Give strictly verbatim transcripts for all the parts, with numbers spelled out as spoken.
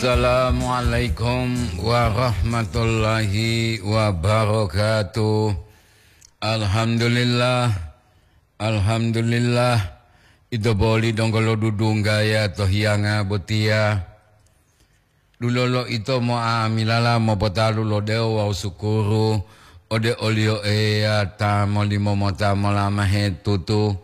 Assalamualaikum warahmatullahi wabarakatuh. Alhamdulillah, alhamdulillah. Ito boli donggo lo dudunggaya to hiyanga botiya. Dulolo ito mo'amilala mopotalu lo dewo wawu sukuru ode oliyo Eya ta molimo mota molamahe tutu.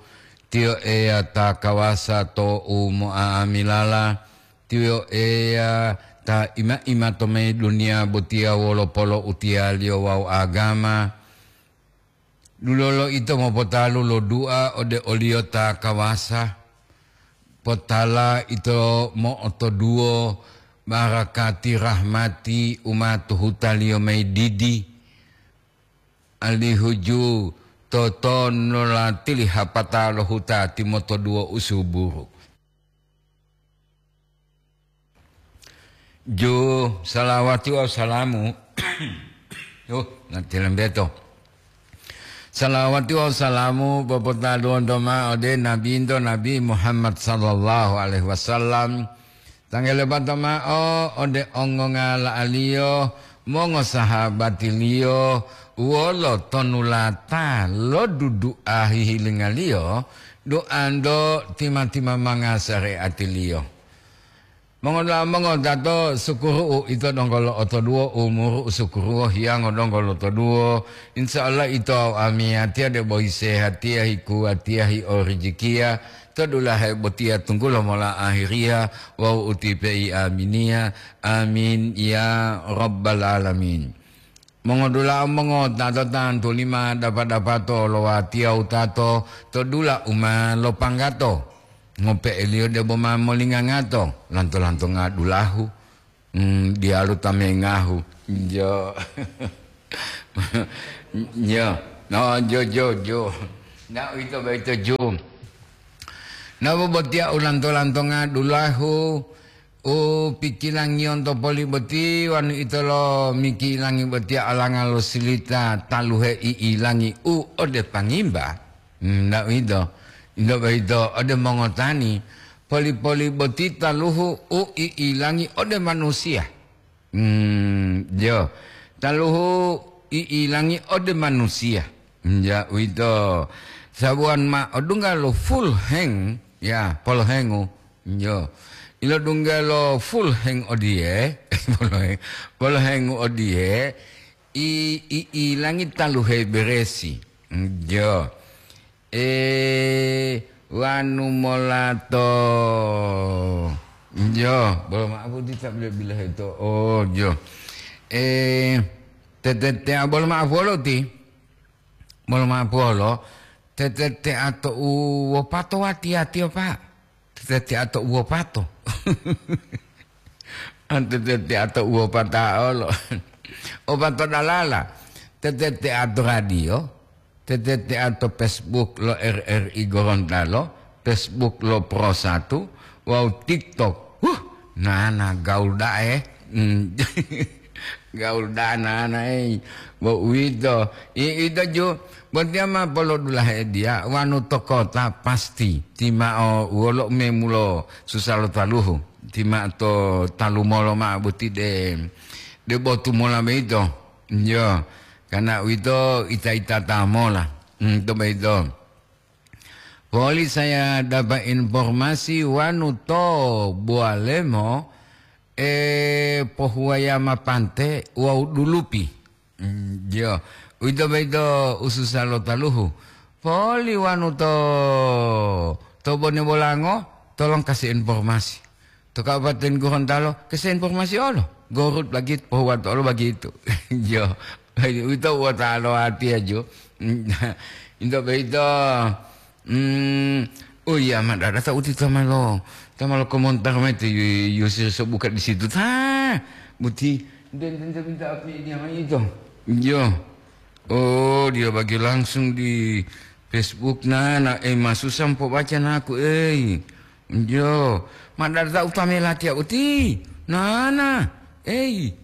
Tiyo Eya ta kawasa to u mo'amilala. Tiyo Eya ta ima-ima to mayi duniya botiya wolo polo'utiyaliyo wawu agama. Dulolo ito mopotalu lo dua ode oliyo ta kawasa. Potala ito mo'otoduwo barakati rahmati u ma tuhutaliyo mayi didi. Alihu ju totonolatili hapata lo huta timotoduwo u suburu. Ju, salawati wawu salamu. Uh, natilembeto. Salawati wawu salamu popotaluwonto ma'o ode Nabinto Nabi Muhammad sallallahu alaihi wasallam. Tangelebato ma'o ode ongongala'aliyo, mongosahabatiliyo, wolo tonulata lo dudu'a hihilingaliyo, duanto tima-timamanga sare'atiliyo. Mongoda'a mongotato, sukuru'u ito donggo lo'otoduwo, umuru u sukuruwo hiyango donggo lotoduwo. Insya Allah ito wawu amiyatiya debo hisehatiya, hikuwatiya, hiorijikiya to dulahe botiya tunggulo mola ahiriya wawu utipe'i aminiya. Amin ya rabbal alamin. Mongodula'a mongota to tantu lima dapa-dapato lo watiya wutato to dula u ma lopanggato. Ngope'eliyo debo ma molingangato, lanto-lantonga dulahu, mm, diyalu tamengahu. Jo. Jo. No, jo, jo, jo. Na uwito boyito ju. Nabo botiya u lanto-lantonga dulahu, u pikilangiyonto poli boti, wanu ito lo mikilangi botiya olanga lo silita taluhe i'ilangi u ode pangimba. Hmm, ndak uwito. Ito boyito ode mongotani, poli-poli boti taluhu u i'ilangi ode manusiya. Hmm, jo. Taluhu i'ilangi ode manusiya. Ja, uwito. Sabuwan ma odungga lo full hang, ya, polohengu. Jo. Ilodungga lo full hang odiye, polohe-, polohengu odiye, i, i, ilangi taluhe beresi. Jo. E, wanu mola to. Jo, bolo ma'apu ti ta bila-bila heto. Oh, jo. E, tete-, tea bolo ma'apu olo ti. Bolo ma'apu olo. Tete-, tea to u wopato wati-watiyo, Pak. Tete-tea to u wopato. An tete-tea to u wopata olo. Opato dalala. Tete-tea to radio. Tete-tea to Facebook lo R R I Gorontalo, Facebook lo Pro Satu, wawu TikTok. Huh, nana gaul da'e. Hmm. Gaul dana anae, bo uwito. I-, ito ju, botiya ma polodulahe diya, wanu to kota pasti, timao wolo memulo susa lo taluhu, tima to talumolo ma'o boti de, de botu mola boyito. Iyo, karena uwito ita-itata mola. Hmm, to boyito. Poli saya dapat informasi wanu to Bualemo, eh, pohuwaya ma pante wawu dulupi. Mm, iyo. Uwito boyito ususa lo taluhu. Poli wanu to, to Bone Bolango, tolong kasih informasi. To Kabupaten Gorontalo, kasih informasi olo. Gorut lagi, pohuwato olo begitu. Iyo. Uwito wota lo atiya jo. Uwito boyito. Hmm, oh iya, ma dada ta uti ta ma lo, ta ma lo komentar mayi ti Yu-, Yusuf so buka di situ ta. Buti, dan, dan, dan minta apa dia mayi itu? Iya. Oh, dia bagi langsung di Facebook. Nah, nah, eh, ma susah mpo baca naku, eh. Iya. Ma dada ta utame latiya uti. Nah, nah. Eh.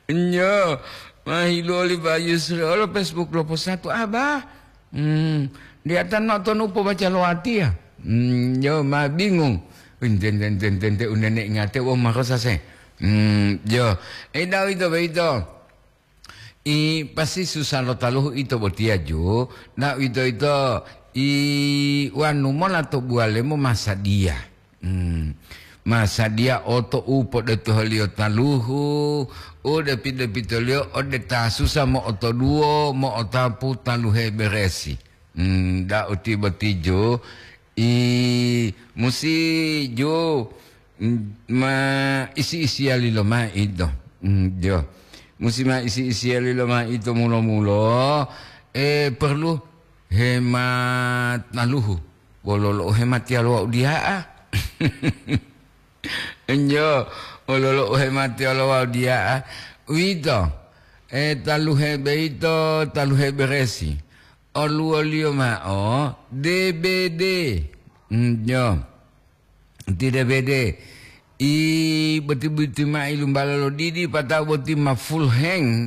Nyo, ma hiluwo li Pak Yusri olo Facebook lo posatu aba. Hmm, diatan ma tonu pobaca lo watiya. Hmm, nyo ma bingung. Enten, enten, enten, enten, unene ingate wo marosa se. Hmm, jo. Eh, da'a uwito boyito. I pasi susa lo taluhu ito botiya, ju. Da'a uwito-yito i wanu mola to buwalemo masadiya. Hmm. Masadiya oto u podotoholiyo taluhu, u depi-depitoliyo ode ta susa mo'otoduwo, mo'otapu taluhe beresi. Hmm, da'a uti boti, ju. I musi ju, mm, ma isi-isiyali lomayi ito. Mm, jo. Musi ma isi-isiyali lomayi ito mulo-mulo, eh, perlu hemat taluhu. Wolo lo hemat ya lo wau diya'a. Enjo, wolo lo hemat ya lo wau diya'a. Uwito, eh, taluhe boyito, taluhe beresi. Oluwoliyo ma'o D B D. Enjo. Ti D B D, i boti-boti ma ilumbala lo didi, pata'u boti ma full hang.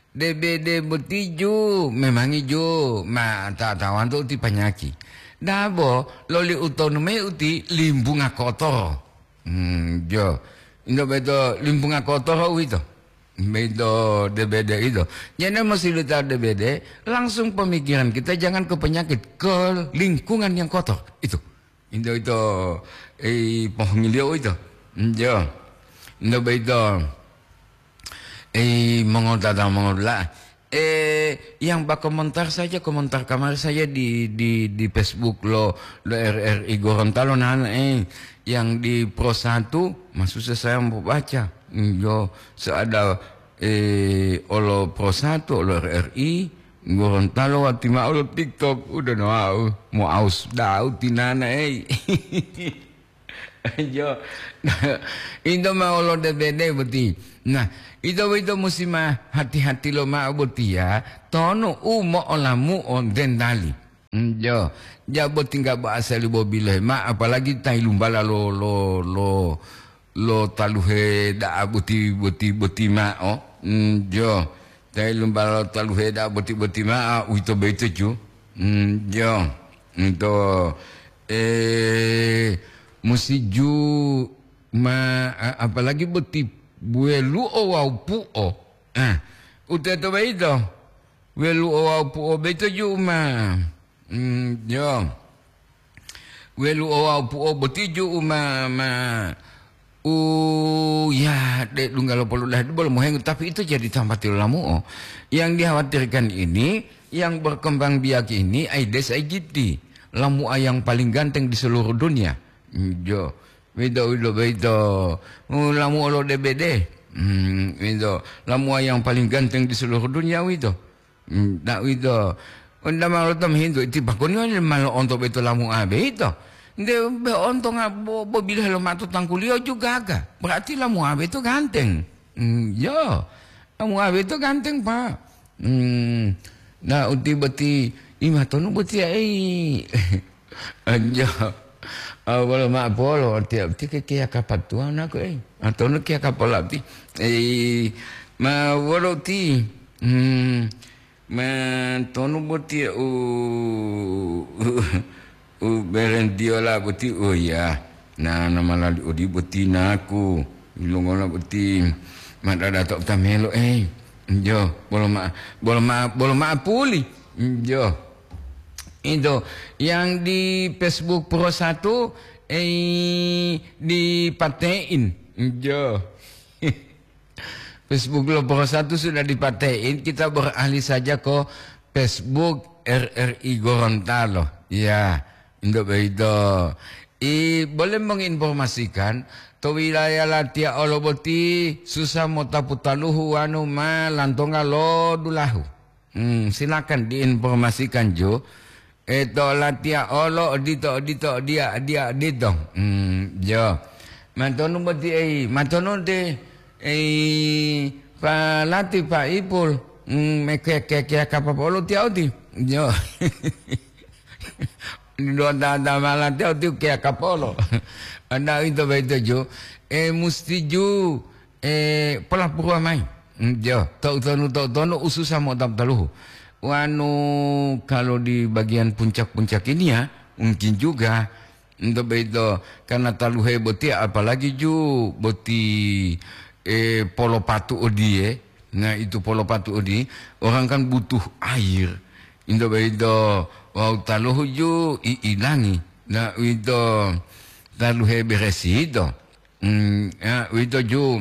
D B D boti ju, memangi ju, ma ta-, tawanto uti panyaki. Dabo, loli utonu mayi uti limbunga kotoro. Hmm, jo. Indo beto limbunga kotoro uwito. Beto D B D itu. Jadi, masih lita D B D, langsung pemikiran kita jangan ke penyakit, ke lingkungan yang kotor. Itu. Indo ito, eh, pohongiliyo ito. Njo. Indo boyito, eh, mongotata mongodula'a. Eh, yang bakomentar saja, komentar kamari saja di, di, di Facebook lo, lo R R I Gorontalo, nana, eh, yang di Pro Satu, masusa saya mau baca. Njo, seada, eh, olo Pro Satu, olo R R I, Gorontalo wati ma'o lo TikTok, uda no wau, mo'aus da'u tinana, ei. Jo, ito ma'o lo D B D boti. Nah, ito boyito musi ma hati-hati loma'o botiya, tonu u mo'olamu'o dendali. Mm, jo, ja boti nggak bahasa li bobilohe ma, apalagi ta ilumbala lo, lo, lo, lo taluhe da'a boti, boti, boti ma'o. Mm, jo. Tayi lumbala taluhe da'a boti-boti ma'o, uwito boyito ju. Mm, jo. Ito, eh, musi ju ma, a-, apalagi boti welu'o wawu pu'o. Ah, uteto boyito. Welu'o wawu pu'o boyito ju ma. Mm, jo. Welu'o wawu pu'o boti ju'u ma, ma, u, ya, de dungga lo poludahadu bolo mohengu, tapi itu jadi tambati lo lamu'o. Yang dikhawatirkan ini, yang berkembang biak ini, Aedes aegypti. Lamu'a yang paling ganteng di seluruh dunia. Jo. Wito, wito, wito. U, lamu'o lo D B D. Hmm, wito. Lamu'a yang paling ganteng di seluruh dunia wito. Hmm, ta uwito, onda ma loto mohintu, ti pakoni wali ma lo'onto boyito lamu'a boyito? Nte be ontonga bo-, bobilohe lo ma'o to tangkuliyo ju gaga, berarti lamu'a boyito ganteng. Hmm, yo, lamu'a boyito ganteng, Pak. Hmm, na uti boti, imatonu botiya, ei. Anjo. Ah, bolo ma'o polo, ti, ti ke kiya kapatuwa naku, ei. Atonu kiya kapala ti. Ei, ma wolo ti. Hmm, ma tonu boti u, u, u berentiyola boti, oh ya. Na, na malali odi boti naku. Ilongola boti. Ma dada to utamelo, ei. Anjo, bolo ma, bolo ma, bolo ma'o puli. Anjo. Itu yang di Facebook Pro Satu, eh, dipate'in. Jo. Facebook lo Pro Satu sudah dipate'in, kita beralih saja ke Facebook R R I Gorontalo. Ya, untuk begitu. I, boleh menginformasikan, to wilayah latiya olo boti susa motapu taluhu wanu ma lantonga lo dulahu. Hmm, silakan diinformasikan, Jo. Eh, to latiya olo odito, odito, diya, diya, odito. Hmm, jo. Matonu boti, ei, matonu te, ei, pa lati, pa ipul. Hmm, me ke, ke, ke, kapa polo tiya oti. Jo. Dua tata malate uti ukeya kapolo. Ada ito baito ju, eh, musti ju, eh, polapuruwa mayi. Mm, jo, to'utonu, to'utonu ususa mo'otapu taluhu. Wanu kalau di bagian puncak-puncak ini ya, mungkin juga, Ento boyito karena taluhe boti, apalagi ju boti, eh, polopatu odiye. Nah, itu polopatu odiye, orang kan butuh air. Ento boyito wawu taluhu ju i ilangi. Nah, uwito taluhe beresi yito. Hmm, ya, uwito ju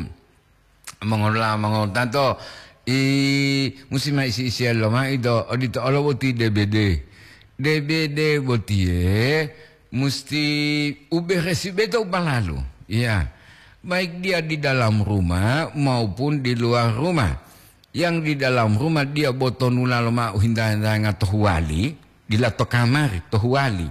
mongolola mongowutato, i, musi ma isi-isiya lomai do, odito olo boti D B D. D B D botiye musti uberesi beto balalu. Iya. Baik dia di dalam rumah maupun di luar rumah. Yang di dalam rumah dia botonula loma'u hinta-hintanga to huwali, dila to kamari, to huwali.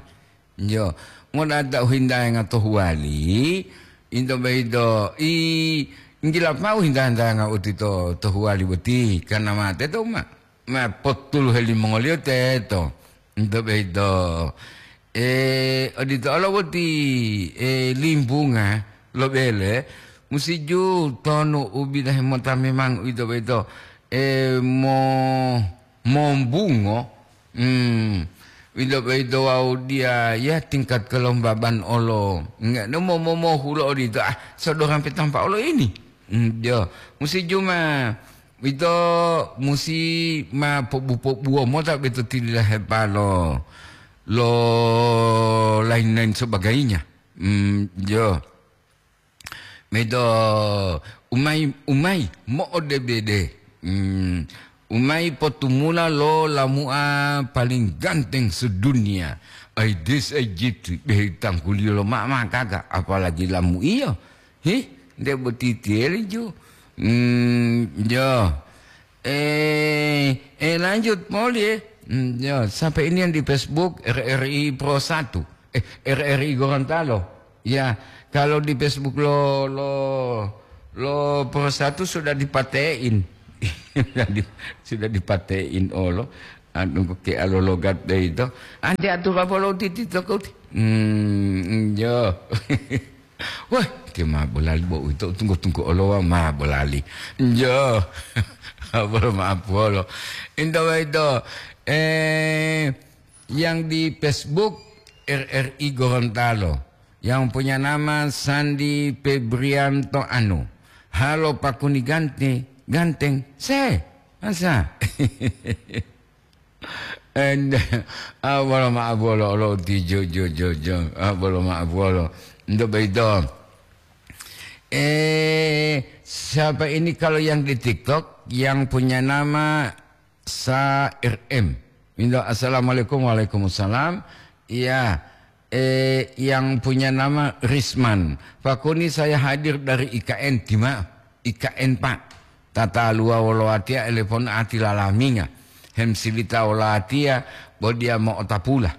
Yo, ngoda'a ta u hintayanga to huwali, into boyito, i, nggila mao hinta-hintayanga uti to, to huwali boti, karena ma teto ma, ma potuluhe limongoliyo teto. Into boyito, e, odito olo boti, e, limbunga lo bele, musi ju tonu u bidahe mota memang uwito boyito, e, mo-, mombungo, Hmm, wito-wito wawu diya, ya, tingkat kelembaban olo. Enggak, no mo-, mo-, mohulo odito, ah, sodorang petampa olo ini. Hmm, jo, musi juma, wito musi ma pobu-pobuwo mota beto tililahepalo lo lain-lain sebagainya. Hmm, jo. Medo umai, umai mo'odebede. Hmm, umai potumula lo lamu'a paling ganteng sedunia. Aedes aegypti, behe tangguliyo lo mama gaga, apalagi lamu'iyo. Hih, nde boti tiyeli ju. Hmm, jo. Eh, eh, lanjut, Moli, eh. Hmm, ya, sampai ini yang di Facebook, R R I Pro satu. Eh, R R I Gorontalo. Ya, kalau di Facebook lo, lo, lo Pro satu sudah dipatein. Sudah di-, sudah dipatein, olo. Anu, ke alo logat deh itu. Ande atur apa lo titi toko ti? Hmm, ya. Wah, ti ma bolali bo uwito, tunggu-tunggu olowa ma bolali. Njo. Bolo maaf bolo. Into boyito, eh, yang di Facebook R R I Gorontalo, yang punya nama Sandi Febrianto Anu. Halo Pakuni Gante-, Ganteng. Se, masa? And, ah, bolo maaf bolo, lo ti jo, jo, jo, jo. Ah, bolo maaf bolo. Nto boyito. Eh, siapa ini kalau yang di TikTok yang punya nama Sa R M? Indo, assalamualaikum, waalaikumsalam. Iya, eh, yang punya nama Risman. Pakuni, saya hadir dari I K N, tima I K N, Pak. Tataluwa wolo watiya elepon ati lalaminga, hemsilita wolo watiya, bo diya mo'otapula.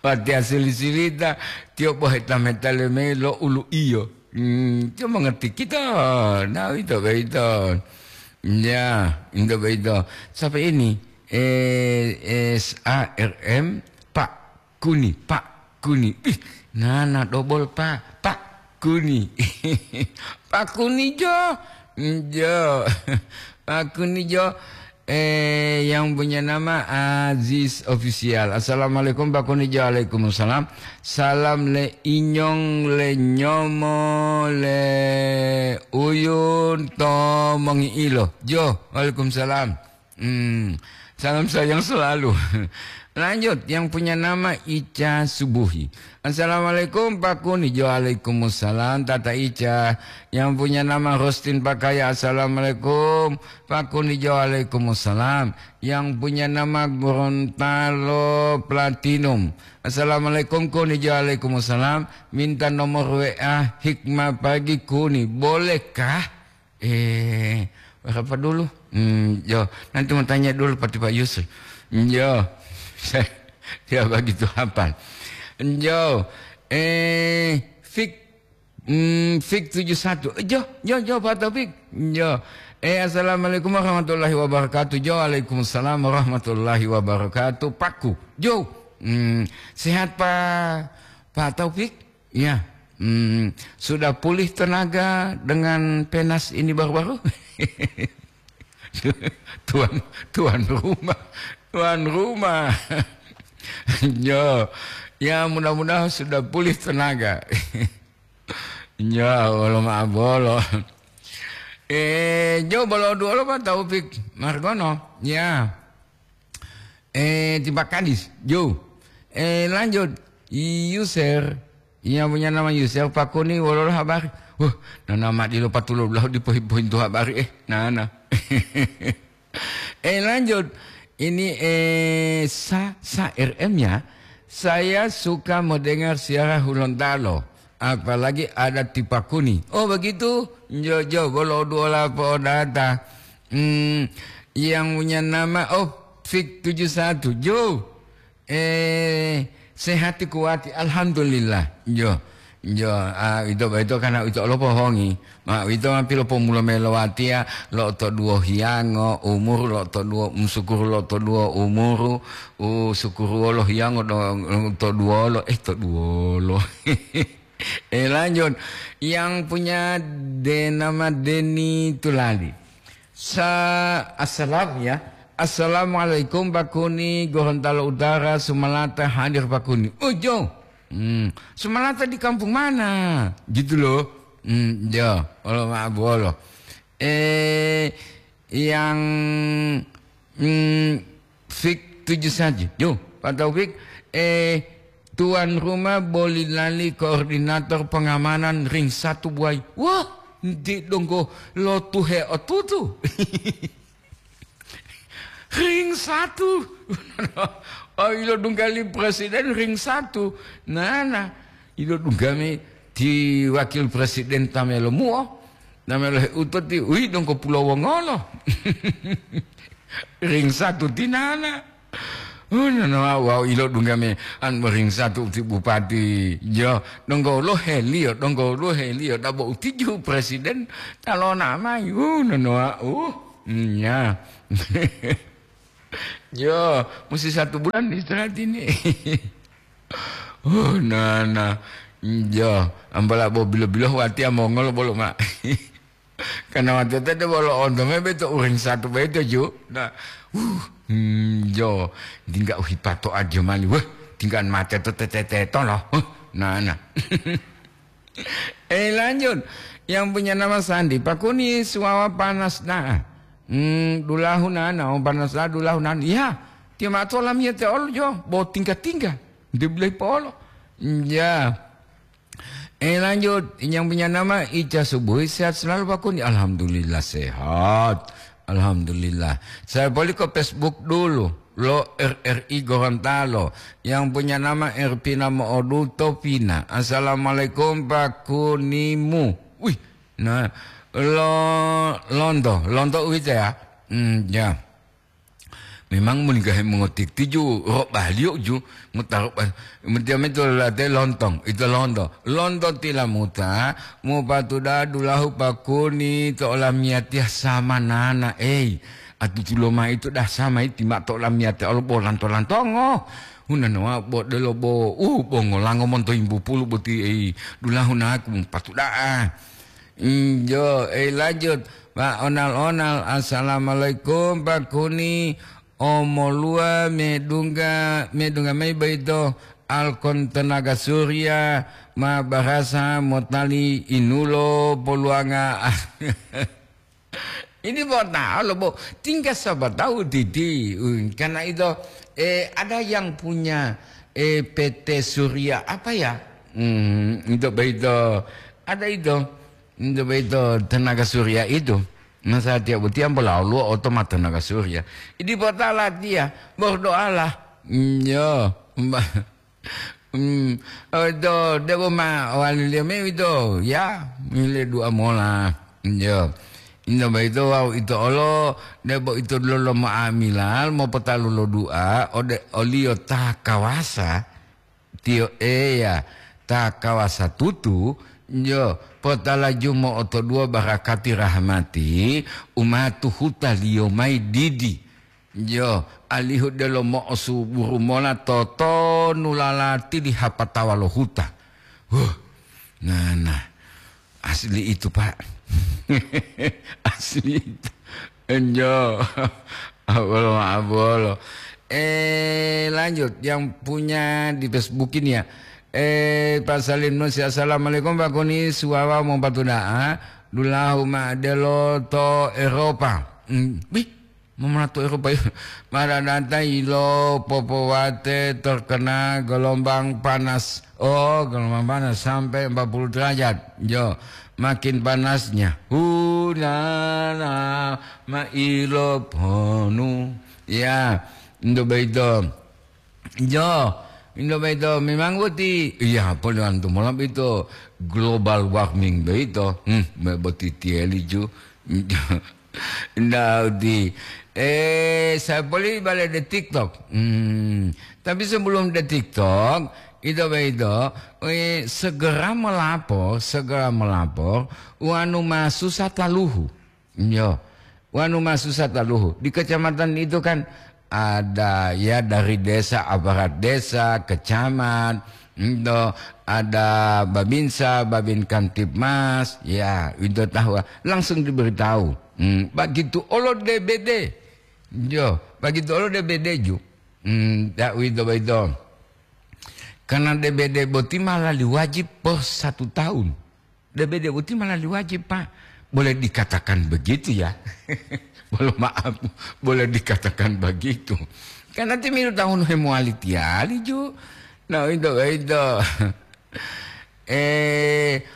Watiya sili-silita, tiyo bo heta-meta leme lo ulu'iyo. Hmm, tiyo mongerti kito, na uwito boyito. Ya, into boyito. Sampai ini, eh, S A R M, Pak. Kuni, Pak Kuni. Ih, nana dobol, Pak. Pak Kuni. Pak Kuni jo. Jo. Pak Kuni jo. Eh, yang punya nama Aziz Official. Assalamualaikum, Pak Kuni jo. Waalaikumsalam. Salam le inyong, le nyomo, le uyun, to mongi'ilo. Jo, waalaikumsalam. Hmm, salam sayang selalu. Lanjut, yang punya nama Ica Subuhi. Assalamualaikum, Pak Kuni. Waalaikumsalam, Tata Ica. Yang punya nama Rostin Pakaya. Assalamualaikum, Pak Kuni. Waalaikumsalam. Yang punya nama Gorontalo Platinum. Assalamualaikum, Kuni. Waalaikumsalam. Minta nomor W A Hikmah Pagi, Kuni. Bolehkah? Eh, berapa dulu? Hmm, yo, nanti mau tanya dulu pada Pak Yusri. Yo, saya tidak begitu hafal. Yo, eh, Fik, hmm, Fik tujuh satu. Eh, yo, yo, yo, Pak Taufik. Yo. Eh, assalamualaikum warahmatullahi wabarakatuh. Yo, waalaikumsalam warahmatullahi wabarakatuh. Paku. Yo. Hmm, sehat, Pak, Pak Taufik? Ya, hmm, sudah pulih tenaga dengan penas ini baru-baru? Tuan, tuan rumah, tuan rumah. Yo, Ya, mudah-mudahan sudah pulih tenaga. Ya, wolo ma'abolo. Eh, jo bolo duolo Pak Taufik Margono. Ya. Eh, tiba kadis, jo. Eh, lanjut. Yusir. Yang punya nama Yusir Pakuni, wolo habari. Wah, nana ma dilo patulo belahu dipohi-pohintu habari, eh. Nana. Eh, lanjut. Ini, eh, sa, sa R M ya. Saya suka mendengar siaran Hulontalo, apalagi ada Tipakuni. Oh, begitu? Jo, jo, bolo duola podata. Hmm, yang punya nama, oh, Fik tujuh satu. Jo. Eh, sehati kuwati, alhamdulillah. Jo, jo, ah, ito boyito karena ito olo pohongi. Ma, ito ma pilopomulo mayi lo watiya, lo'otoduwo hiyango umuru, lo'otoduwo, musukuru lo'otoduwo umuru, u sukuru wolo hiyango do, toduwolo, eh, toduwolo. Eh, lanjut. Yang punya de-, nama Deni Tulali. Sa-, assalam ya. Assalamualaikum Pak Kuni, Gorontalo Utara, Sumalata hadir Pak Kuni. Oh, jo. Hmm, Sumalata di kampung mana? Gitu loh. Hmm, jo. Olo maaf, olo. Eh, yang, hmm, Fik tujuh saja. Yo, Pak Taufik, eh, tuan rumah boli lali koordinator pengamanan ring satu buai. Wah, nti donggo lotuhe otutu. Ring satu. Oh, ilo dunggali presiden ring satu. Nana, ilo dunggami ti wakil presiden tamelo muo. Namelo heuto ti, ui, donggo pulo wongolo. Ring satu tinana. Oh, nono, wau ilo dunggame an ring satu ti bupati. Jo, donggo lo helio, donggo lo helio, dabo utiju presiden talona mai. Uh, nono, uh, nya. Jo, musti satu bulan istirahat ini. Oh, nana. Jo, ambala bo bilo-bilo watiya mongolo bolo ma. Karena watiya tadi bolo onto me beto uring satu beto ju. Nah, uh, hmm, jo, tinggal uhipato aja mali. Wah, tinggal mate to tete to loh. Huh, nana. Eh, lanjut. Yang punya nama Sandi, Pak Kuni suwawa panas na. Hmm, dulahu nana, oh, panas na, dulahu nana. Ya, tiyo mato lamiyate olo jo, bo tingga-tingga. Dia bilang polo. Ya. Eh, lanjut. Yang punya nama Ica Subuhi, sehat selalu Pak Kuni. Alhamdulillah sehat. Alhamdulillah. Saya balik ke Facebook dulu. Lo R R I Gorontalo. Yang punya nama Erpina Mooduto Pina. Assalamualaikum Pak Kunimu. Wih, nah, lo, lonto, lonto uwito ya. Hmm, ya. Memang mun gahe mongotiktiju, ro baliyo ju, mutaro ba-, mutiya meto late lontong, ito lonto. Lonto tilamuta, mupatuda dulahu Pak Kuni to olamiyatiya samanana, ei. Atutulo ma ito dah sama iti ma to olamiyatiya olo bo lanto-lantongo. Hunanoa bo delo bo, uh, bo ngolango monto yimbu pulu boti, ei. Dulahu naku mupatuda'a. Injo, eh, lanjut. Pak Onal-onal, assalamualaikum, Pak Kuni. Omoluwa medungga, medungga mayi boyito Alkon Tenaga Surya ma barasa motali inulo poluwanga. Ini bo tahu lo, bo. Tinggal siapa tahu, Didi. Hmm, karena itu, eh, ada yang punya, eh, P T Surya apa ya? Hmm, itu boyito. Ada itu. Itu boyito tenaga surya itu. Nah, saya tiap butiang bolalu oto ma tenaga surya. Idi potala dia, berdoalah. Hmm, yo, Mbak. Hmm, oto, debo ma waliliyo me wito, ya, mile dua mola. Yo. Inda boyito wawu ito olo, debo ito lolo ma'amilal mopotalu lo dua, ode oliyo ta kawasa, Tiyo Eya ta kawasa tutu, jo, potalaju mo'otoduwo barakati rahmati, umatu hutaliyo mayi didi, jo, alihu delo mo'osuburu mola totonu lalati li hapatawa lo huta. Huh, nana, asli itu, Pak. Asli itu. Enjo. Abolo, abolo. Eh, lanjut, yang punya di Facebook ini ya. Eh, Pak Salim Nusi, "Assalamualaikum, Pak Kuni, suwawa mopatuda'a, dulahu ma'adelo to Eropa." Hmm, wih, mau mana to Eropa ya? Mada data ilo popowate terkena gelombang panas. Oh, gelombang panas sampai empat puluh derajat. Yo, makin panasnya. Hunana mailo ponu. Ya, ndo beito. Jo, ndo beito memang boti. Iya, apa antu malam itu global warming beito. Hmm, me boti tieli ju. Nda uti. Eh, saya boli balik di TikTok. Hmm, tapi sebelum di TikTok, itu beito, eh, segera melapor, segera melapor, wanu masusah taluhu. Yo, wanu masusah taluhu. Di kecamatan itu kan ada ya dari desa, aparat desa, kecamat, ento ada babinsa, babin kamtibmas, ya itu tahu langsung diberitahu. Hmm, begitu olo D B D. Yo, begitu olo D B D ju. Hmm, ya itu begitu. Karena D B D boti malah diwajib per satu tahun. D B D boti malah diwajib, Pak. Boleh dikatakan begitu ya. Boleh maaf, boleh dikatakan begitu. Karena timilu tahun hemowali tiali ju. Nah, itu, itu. Eh,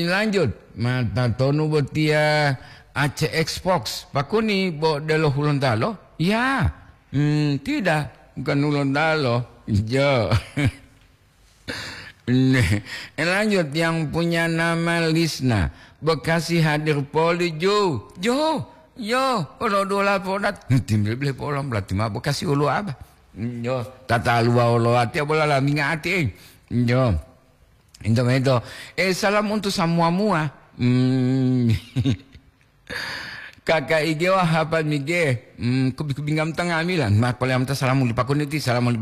lanjut. Mata tonu botia A C X Box. Pakuni bo delo Hulontalo? Ya. Hmm, tidak. Bukan Hulontalo. Jo. Nih, lanjut yang punya nama Lisna. Bekasi hadir poli jo. Jo, yo, olo dola podat. Tim bele pola berarti ma Bekasi olo apa? Yo, tata lua olo ati bola la minga ati, eh. Yo. Ento mento. Eh, salam untuk semua mua. Hmm. Kakak ige wa hapa mige. Hmm, kubi-kubi ngam tanga amila. Ma pole amta salamu lipakuniti, salamu